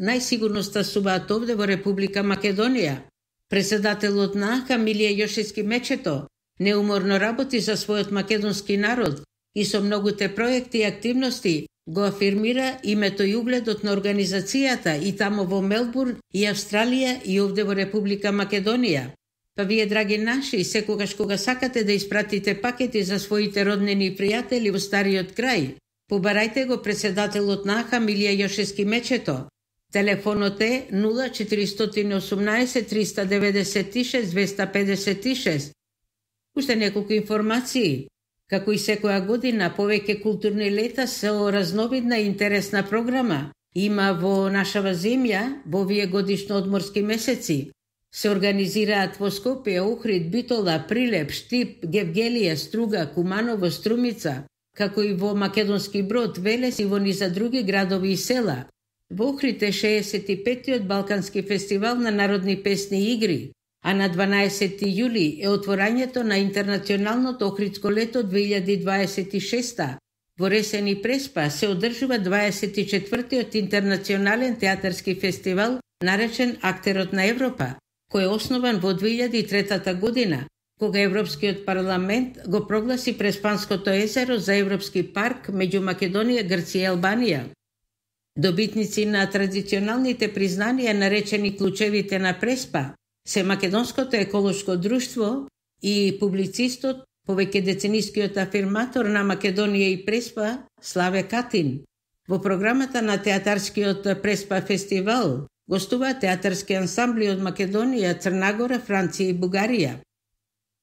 најсигурно стасуваат овде во Република Македонија. Председателот на АК Милија Јошевски Мечето неуморно работи за својот македонски народ и со многуте проекти и активности го афирмира името и угледот на организацијата и тамо во Мелбурн и Австралија и овде во Република Македонија. Па вие, драги наши, секогаш кога сакате да испратите пакети за своите роднини и пријатели во стариот крај, побарајте го председателот на АК Милија Јошевски Мечето. Телефонот е 0418 396 256. Уште неколку информации. Како и секоја година, повеќе културни лета со разновидна и интересна програма има во нашава земја во овие годишно одморски месеци. Се организираат во Скопје, Охрид, Битола, Прилеп, Штип, Гевгелија, Струга, Куманово, Струмица, како и во Македонски Брод, Велес и во низа други градови и села. Во Охрид е 65-тиот Балкански фестивал на народни песни и игри, а на 12 јули е отворањето на Интернационалното Охридско лето 2026. Во Ресени Преспа се одржува 24-тиот Интернационален театарски фестивал, наречен Актерот на Европа, кој е основан во 2003 година, кога Европскиот парламент го прогласи Преспанското езеро за Европски парк меѓу Македонија, Грција и Албанија. Добитници на традиционалните признанија, наречени клучевите на Преспа, се Македонското еколошко друштво и публицистот, повеќедеценискиот афирматор на Македонија и Преспа, Славе Катин. Во програмата на театарскиот Преспа фестивал гостуваат театарски ансамбли од Македонија, Црнагора, Франција и Бугарија.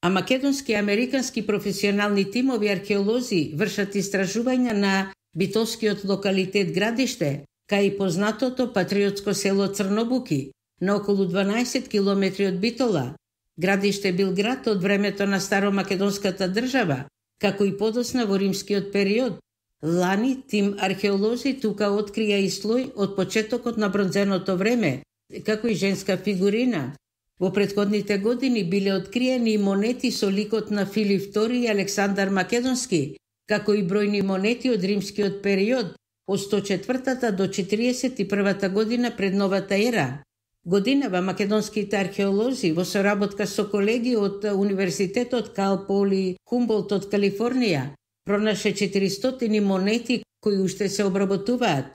А македонски и американски професионални тимови археолози вршат истражувања на битолскиот локалитет Градиште, кај и познатото патриотско село Црнобуки, на околу 12 километри од Битола. Градиште бил град од времето на старомакедонската држава, како и подосна во римскиот период. Лани тим археолози тука открија и слој од почетокот на бронзеното време, како и женска фигурина. Во претходните години биле откриени монети со ликот на Филип II и Александар Македонски, како и бројни монети од римскиот период, од 104 до 41 година пред новата ера. Годинава македонските археолози во соработка со колеги од Универзитетот Кал Поли Хумболт од Калифорнија пронаше 400 монети кои уште се обработуваат.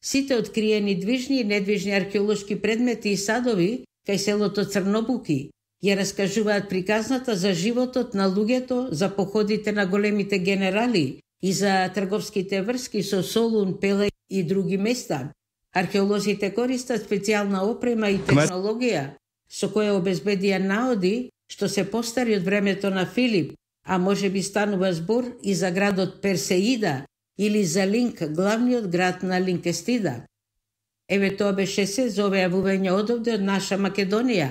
Сите откриени движни и недвижни археолошки предмети и садови кај селото Црнобуки ја раскажуваат приказната за животот на луѓето, за походите на големите генерали и за трговските врски со Солун, Пеле и други места. Археолозите користат специјална опрема и технологија со која обезбедија наоди што се постари од времето на Филип, а може би станува збор и за градот Персеида или за Линк, главниот град на Линкестида. Еве тоа беше се за овие јавувања одовде од наша Македонија.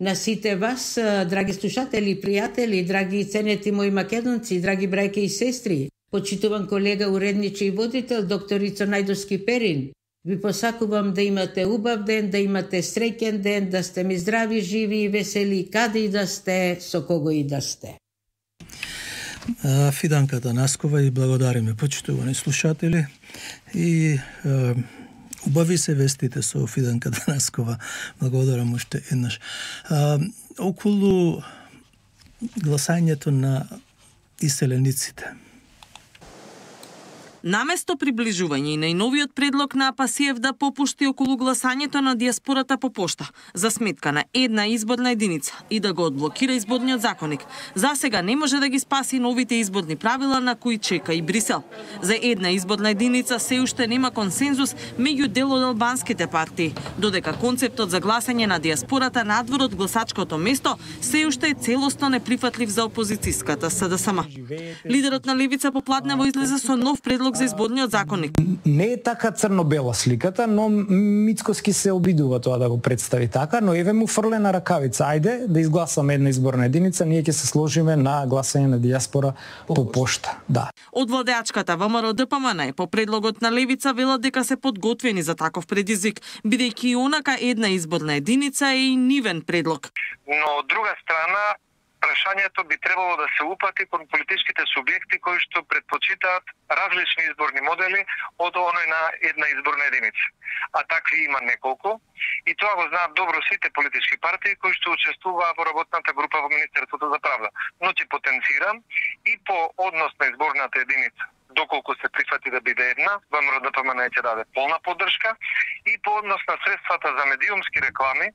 На сите вас, драги слушатели и пријатели, драги ценети мои македонци, драги брајке и сестри, почитуван колега, уредниче и водител, докторица Најдовски Перин, ви посакувам да имате убав ден, да имате среќен ден, да сте ми здрави, живи и весели, каде и да сте, со кого и да сте. Фиданка Танаскова и благодариме, почитувани слушатели. И убави се вестите со Фиданка Танаскова. Благодарам уште еднаш. Околу гласањето на иселениците. Наместо приближување и најновиот предлог на АПСИЕВ да попушти околу гласањето на диаспората по пошта за сметка на една изборна единица и да го одблокира изборниот законник, засега не може да ги спаси новите изборни правила на кои чека и Брисел. За една изборна единица се уште нема консензус меѓу дел од албанските партии, додека концептот за гласање на диаспората надвор од гласачкото место се уште е целосно неприфатлив за опозицијската СДСМ. Лидерот на Левица попладнево излезе со нов предлог за изборниот законник. Не е така црно-бела сликата, но Мицкоски се обидува тоа да го представи така, но еве му фрлена ракавица. Ајде да изгласаме една изборна единица, ние ќе се сложиме на гласање на диаспора по пошта. Да. Од владеачката ВМРО ДПМН по предлогот на Левица велат дека се подготвени за таков предизвик, бидејќи и онака една изборна единица е и нивен предлог. Но од друга страна прашањето би требало да се упати кон политичките субјекти кои што предпочитаат различни изборни модели од оној на една изборна единица. А такви има неколку и тоа го знаат добро сите политички партии кои што учествуваат во работната група во Министерството за правда. Но ќе потенцирам и по однос на изборната единица, доколку се прифати да биде една, ВМРО ДПМН ќе даде полна поддршка, и по однос на средствата за медиумски реклами,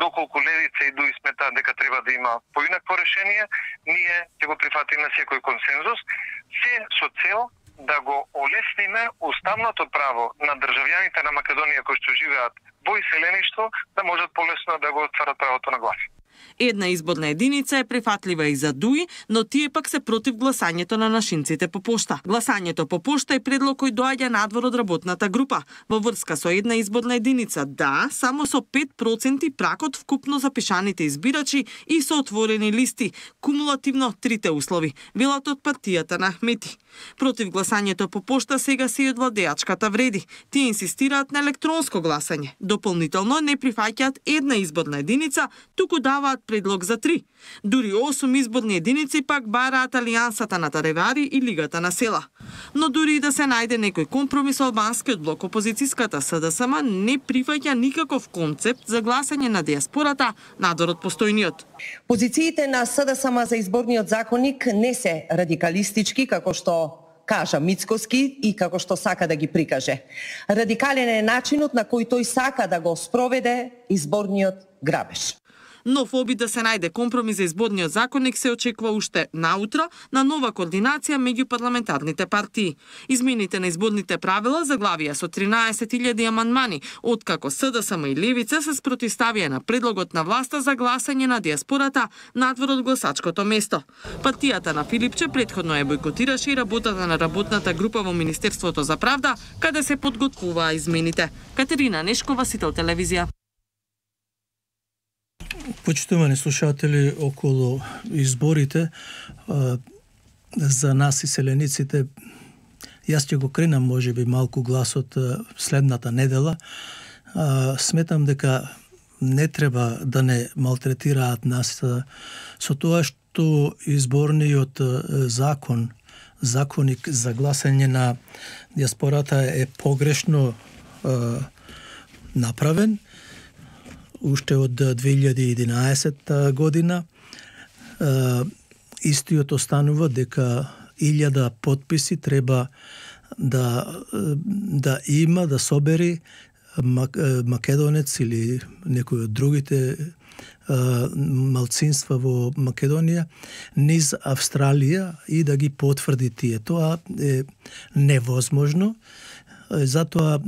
доколку Левица и ДУИ сметаат дека треба да има поинакво решение, ние ќе го прифатиме секој консензус, се со цел да го олесниме уставното право на државјаните на Македонија кои што живеат во иселеништво, да можат полесно да го отстварат правото на глас. Една изборна единица е прифатлива и за ДУИ, но тие пак се против гласањето на нашинците по пошта. Гласањето по пошта е предлог кој доаѓа надвор од работната група. Во врска со една изборна единица, да, само со 5% пракот вкупно запишаните избирачи и со отворени листи, кумулативно трите услови, велат од партијата на Ахмети. Против гласањето по пошта сега се и од владеачката вреди. Тие инсистираат на електронско гласање. Дополнително не прифаќаат една изборна единица, туку даваат предлог за 3. Дури 8 изборни единици пак бараат Алијансата на Таревари и Лигата на села. Но дури и да се најде некој компромис, албанскиот блок опозицијската СДСМ не прифаќа никаков концепт за гласање на диаспората надвор од постојниот. Позициите на СДСМ за изборниот законник не се радикалистички, како што кажа Мицкоски и како што сака да ги прикаже. Радикален е начинот на кој тој сака да го спроведе изборниот грабеж. Нов обид да се најде компромис за изборниот законник се очекува уште наутро на нова координација меѓу парламентарните партии. Измените на изборните правила заглавија со 13.000 амандмани, откако СДСМ и Левица се спротивставија на предлогот на власта за гласање на диаспората надвор од гласачкото место. Партијата на Филипче претходно ја бойкотираше и работата на работната група во Министерството за правда, каде се подготвуваа измените. Катерина Нешкова, Сител телевизија. Почитувани слушатели, околу изборите за нас иселениците, јас ќе го кренам можеби малку гласот следната недела. Сметам дека не треба да не малтретираат нас со тоа што изборниот законник за гласање на диаспората е погрешно направен уште од 2011 година. Истиот останува дека 1000 потписи треба да има, да собери македонец или некој од другите малцинства во Македонија низ Австралија и да ги потврди тие. Тоа е невозможно. Затоа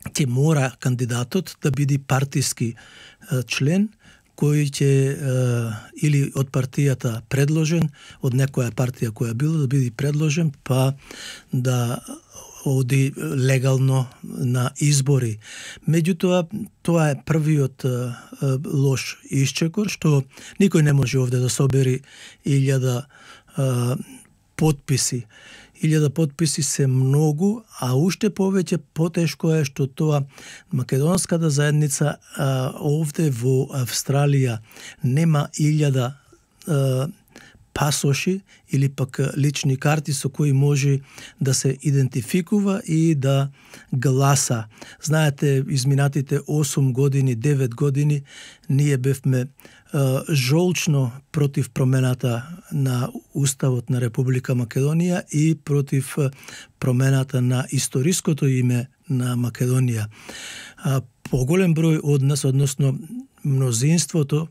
ќе мора кандидатот да биде партиски член кој ќе или од партијата предложен, од некоја партија која било да биде предложен, па да оди легално на избори. Меѓутоа, тоа е првиот лош исчекор, што никој не може овде да собери 1000 потписи. 1000 потписи се многу, а уште повеќе потешко е што тоа македонската заедница овде во Австралија нема 1000 пасоши или пак лични карти со кои може да се идентификува и да гласа. Знаете, изминатите 8 години, 9 години, ние бевме жолчно против промената на Уставот на Република Македонија и против промената на историското име на Македонија. Поголем број од нас, односно мнозинството,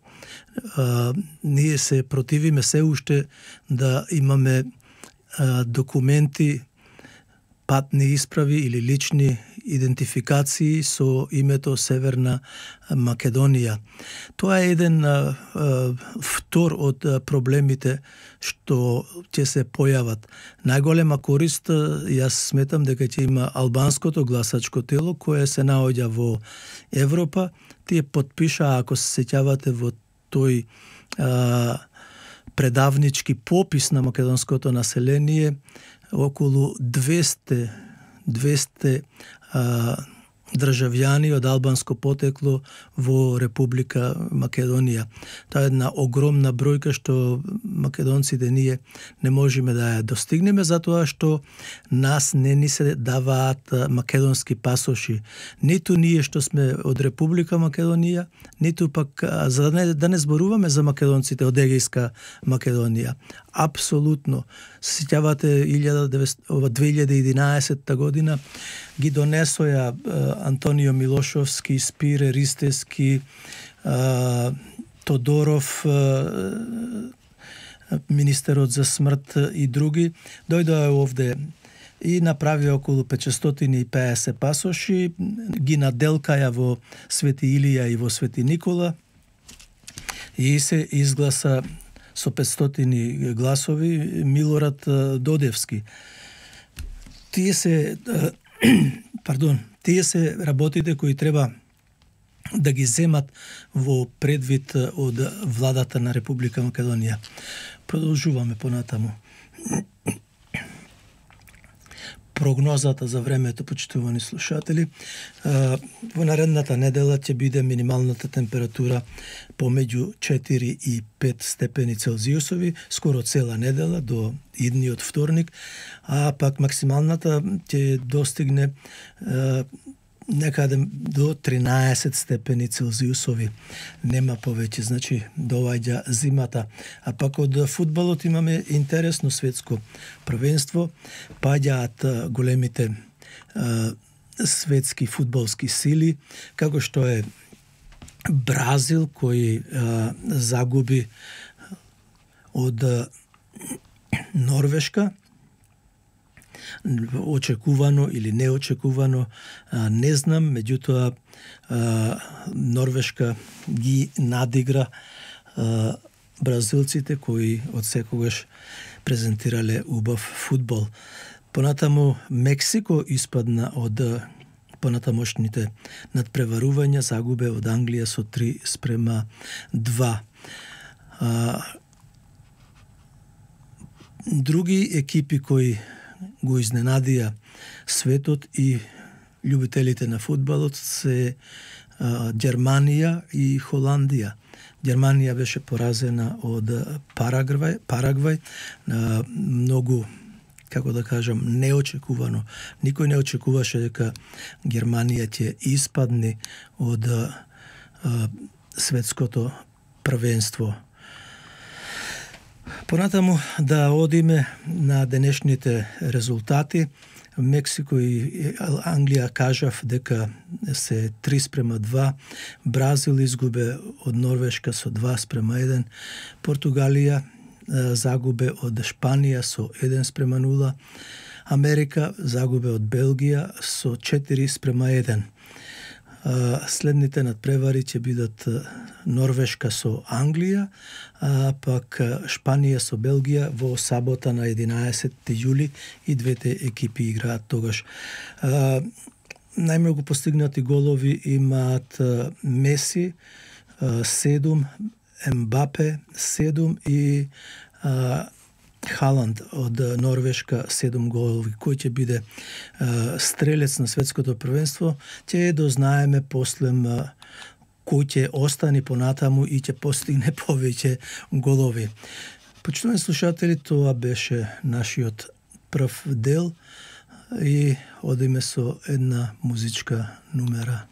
ние се противиме се уште да имаме документи, патни исправи или лични идентификации со името Северна Македонија. Тоа е еден втор од проблемите што ќе се појават. Најголема корист, јас сметам дека ќе има албанското гласачко тело кое се наоѓа во Европа. Тие подпиша, ако се сеќавате, во тој предавнички попис на македонското население, околу 200 државјани од албанско потекло во Република Македонија. Тоа е една огромна бројка што македонците ние не можеме да ја достигнеме затоа што нас не ни се даваат македонски пасоши. Ниту ние што сме од Република Македонија, ниту пак за да не зборуваме за македонците од Егејска Македонија. Апсолутно. Сеќавате 2011 година ги донесоја Антонио Милошовски, Спире Ристевски, Тодоров, министерот за смрт и други, дојдоа овде и направија околу 550 пасоши, ги наделкаја во Свети Илија и во Свети Никола и се изгласа со 500 гласови Милорад Додевски. Тие се работите кои треба да ги земат во предвид од владата на Република Македонија. Продолжуваме понатаму. Прогнозата за времето, почитувани слушатели, во наредната недела ќе биде минималната температура помеѓу 4 и 5 степени Целзиусови, скоро цела недела до идниот вторник, а пак максималната ќе достигне некаде до 13 степени Целзиусови. Нема повеќе, значи доаѓа зимата. А пак од фудбалот имаме интересно светско првенство. Паѓаат големите светски фудбалски сили, како што е Бразил, кој загуби од Норвешка, очекувано или неочекувано, не знам, меѓутоа Норвешка ги надигра бразилците кои од секогаш презентирале убав фудбал. Понатаму Мексико испадна од понатамошните надпреварувања, загубе од Англија со 3:2. Други екипи кои го изненадија светот и љубителите на фудбалот се Германија и Холандија. Германија беше поразена од Парагвај, многу, како да кажам, неочекувано. Никој не очекуваше дека Германија ќе испадне од светското првенство. Понатаму да одиме на денешните резултати. Мексико и Англија кажав дека се 3:2, Бразил изгубе од Норвешка со 2:1, Португалија загубе од Шпанија со 1:0, Америка загубе од Белгија со 4:1. Следните надпревари ќе бидат Норвешка со Англија, а пак Шпанија со Белгија во сабота на 11 јули и двете екипи играат тогаш. Најмногу постигнати голови имаат Меси 7, Ембапе 7 и Халанд од Норвешка 7 голови. Кој ќе биде стрелец на светското првенство, ќе дознаеме послем кој ќе остане понатаму и ќе постигне повеќе голови. Почитувани слушатели, тоа беше нашиот прв дел и одиме со една музичка numera.